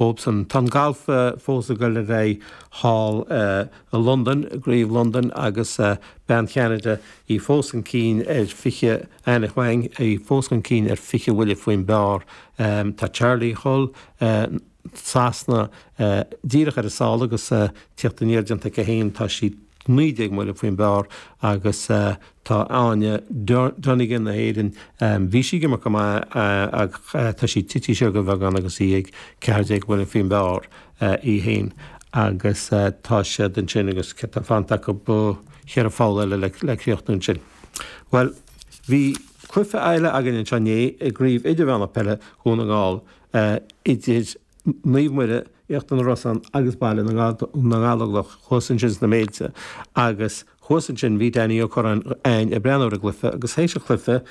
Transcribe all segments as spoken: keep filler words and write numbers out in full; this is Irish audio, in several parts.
dhóibhsan. Tá an galf fós ag dul ar aghaidh thall i Londain, i gCraobh Londain agus bean Cheanada í fós chun cinn ar fiche, Anna Huang, í fós chun cinn ar fiche bhuille faoin bpar. Tá Charley Hull, Sasana, díreach ar a sála agus tíocht aniar déanta aici féin, tá sí naoi déag mbuille faoin bpar agus tá Áine Donegan na hÉireann, bhí sí ag imirt go maith ach tá sí tite siar de bheagán agus í ag ceathair déag buille faoin bpar í féin agus tá siad ansin agus tá fanta acu cheithre pholl eile le críochnú ansin. Bhuel, bhí cluiche eile againn anseo inné i gCraobh Idirmheánach Peile Dhún na nGall idir Naomh Muire, Íochtar na Rosann agus Baile na nGallóglach thuas ansin sna Méilte agus thuas ansin bhí Danny Ó Curráin ag breathnú ar an gcluiche agus théis an chluiche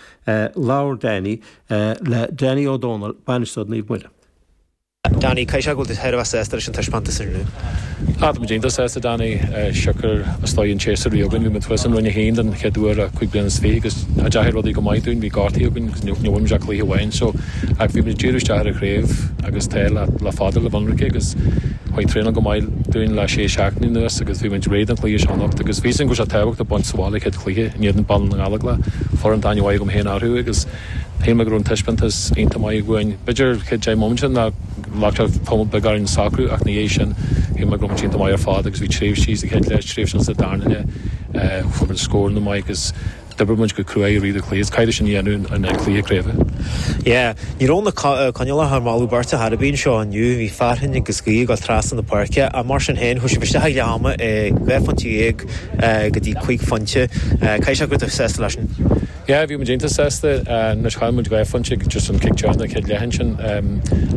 labhair Danny le Danny Ó Dónaill, bainisteoir Naomh Muire. Danny, caithfidh sé go bhfuil tú thar a bheith sásta leis an taispeántas inniu? Ah, tá muid iontach sásta Danny, siocair is dóigh an séasúr a bhí againn, bhí muid thuas in Roinn a haon den chéad uair le cúig bliana is fiche agus deachaigh rudaí go maith dúinn, bhí gortaithe againn agus ní bhfuair muid ach cluiche amháin so ach bhí muid ag díriú isteach ar an chraobh agus tá le le fada le bhionraice agus chuaigh traenáil go maith dúinn le sé seachtaine anuas agus bhí muid réidh don chluiche seo anocht agus bhí a fhios againn go raibh sé tábhachtach baint sa bhaile chéad chluiche in éadan Baile na nGallóglach, foireann atá aithne mhaith agam féin orthu agus shíl mé go raibh an taispeántas iontach maith uainn. B'fhéidir chéad deich mbomaite ná ghlac sé tamall beag orainn socrú ach ina dhiaidh sin shíl mé go raibh muid iontach maith ar fad agus bhí tréimhsí sa chéad leath, tréimhsí sa darna leath, fuair muid scóranna maith agus d'oibrigh muid go crua i rith an chluiche. Is caithfidh sin a dhéanamh in aghaidh cluiche craoibhe. Yeah, ní raibh na coinníollacha ar mholadh beirte thar a bith anseo inniu, bhí fearthainn agus gaoth ag dul trasna na páirce ach mar sin féin chuaigh sibh isteach ag leath ama dhá phointe dhéag go dtí cúig phointe. Caithfidh sé go raibh tú sásta leis sin. Yeah, bhí muid iontach sásta. Anois chaill muid dhá phointe just an cic deireanach an chéad leath ansin.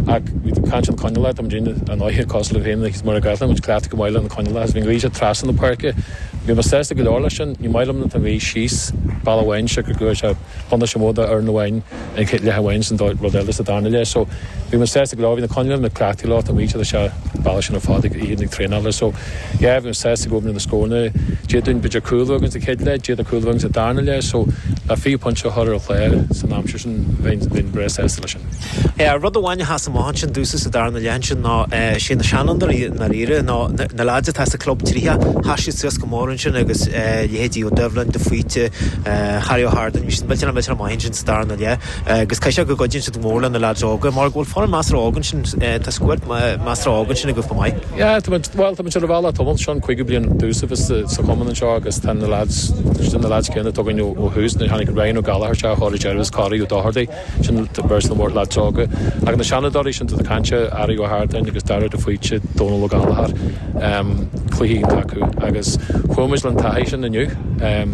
Ach bhí caint an coinníollacha, tá muid an oíche cosúil le féin agus mar a gcaithfidh muid cleachtadh go maith le na coinníollacha agus bhí an ghaoth sé trasna na páirce. Bhí mé sásta go leor leis sin. Ní maith liom nuair atá an ghaoth síos bealach amháin siocair go bhfuil sé buntáiste mór do fhoireann amháin an chéad leath amháin san rud eile sa darna leath. So bhí mé sásta go leor, bhí na coinníollacha muid cleachtaithe leo, tá an ghaoth sé bealach sin ar fad ag oíche ag traenáil so yeah bhí mé sásta go bhfuil na scóranna d'fhéadfainn b'fhéidir cúl againn sa chéad leath, d'fhéadfadh cúl againn sa darna leath so le fiche pointe a chur ar an chlár san aimsir sin bheinn bheinn breá sásta leis sin. Yeah, rud amháin a sheas amach ansin domhsa sa darna leath ansin ná sé na seanfhondúirí i ndáiríre ná na lads atá sa club tríocha, sheas siad suas go mór ansin agus leithéidí Ó Doibhlin, de Faoite, Harry Ó hArdáin, bhí siad millteanach millteanach maith ansin sa darna leath agus caithfidh sé go gcuidíonn siad go mór le na lads óga mar go bhfuil foireann measartha óg ansin, tá scuad measartha óg ansin agaibh chomh maith. Yeah, tá muid, bhuel, tá muid ar an bhealach tamall, seo an cúigiú bliain domhsa bheith sa, sa chumann anseo agus tá na lads, sin na lads céanna atá againn ó, ó thús, nuair a tháinig Ryan Ó Gallchóir isteach ar deireadh agus Corey Ó Dochartaigh, sin beirt na mór lads óga. Ach na seanadóirí sin atá cainte, Harry Ó hArdáin agus Dara de Faoite, Dónal Ó Gallchóir, um, cluichí iontach acu agus chuaigh muid le an taithí sin inniu. Um,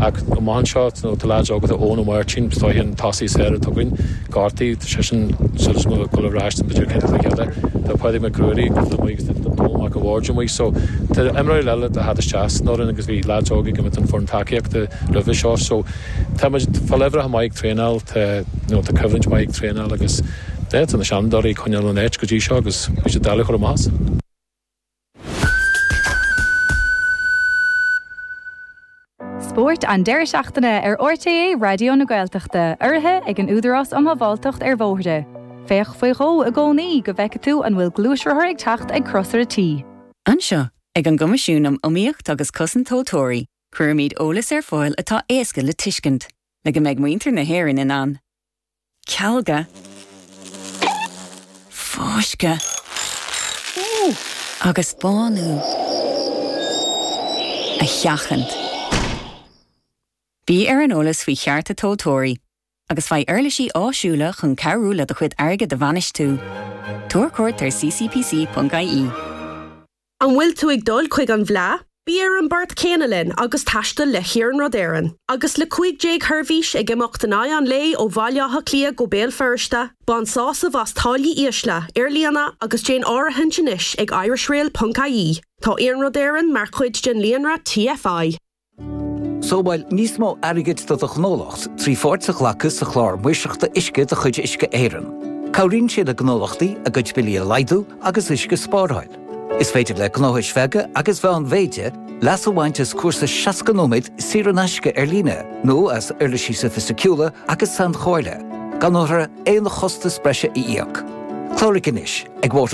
ach amach anseo, nó tá lads óga, tá Eoin Ó Máirtín, is dóiche an tosaí is fearr atá againn, gortaithe, tá seisean suas go dul ar ais b'fhéidir chéad chluiche eile. Tá Pádraig Mac Ruairí amuigh agus tá Dónal Mac a' Bhaird amuigh so tá imreoirí eile le theacht isteach san fhoireann agus bhí lads óga ag imirt an foireann tacaíochta roimhe seo so tá muid fá leibhreacha maith ag traenáil, tá you know tá coimhlint maith ag traenáil agus yeah tá na seanadóirí ag coinneáil an áit go dtí seo agus bhí siad doiligh a chur amach as. Spórt an deireadh seachtaine ar RTÉ Raidió na Gaeltachta, urraithe ag an Údarás um Shábháilteacht ar Bhóithre. Féach faoi dhó i gcónaí go bhfeice tú an bhfuil gluaisrothar ag teacht ag crosaire T. Anseo, ag an gCoimisiún um Iomaíocht agus Cosaint Tomhaltóirí, cuirimid eolas ar fáil atá éasca le tuiscint, le go mbeidh muintir na hÉireann in ann cealga, fáisceadh agus bánú a sheachaint. Bí ar an eolas faoi chearta tomhaltóirí agus faigh uirlisí áisiúla chun cabhrú le do chuid airgid a bhainistiú. Tabhair cuairt ar ccpc.ie. An bhfuil tú ag dul chuig an bhFleadh? Bí ar an bport céanna linn agus taisteal le hIarnród Éireann. Agus le cúig déag sheirbhís ag imeacht in aghaidh an lae ó Bhaile Átha Cliath go Béal Feirste, bain sásamh as táillí ísle, ar líne agus déan áirithint anois ag irishrail.ie. Tá Iarnród Éireann mar chuid den líonra TFI. Sábháil níos mó airgid do do ghnólacht trí pháirt a ghlacadh sa chlár maoirseachta uisce de chuid Uisce Éireann. Cabhraíonn sé le gnólachtaí a gcuid billí a laghdú agus uisce a spáráil. Is féidir le gnóthais bheaga agus mheánmhéide leas a bhaint as cúrsa seasca nóiméad saor in aisce ar líne nó as uirlisí sofaisticiúla agus sainchomhairle, gan orthu aon chostas breise a íoc. Cláraigh anois ag water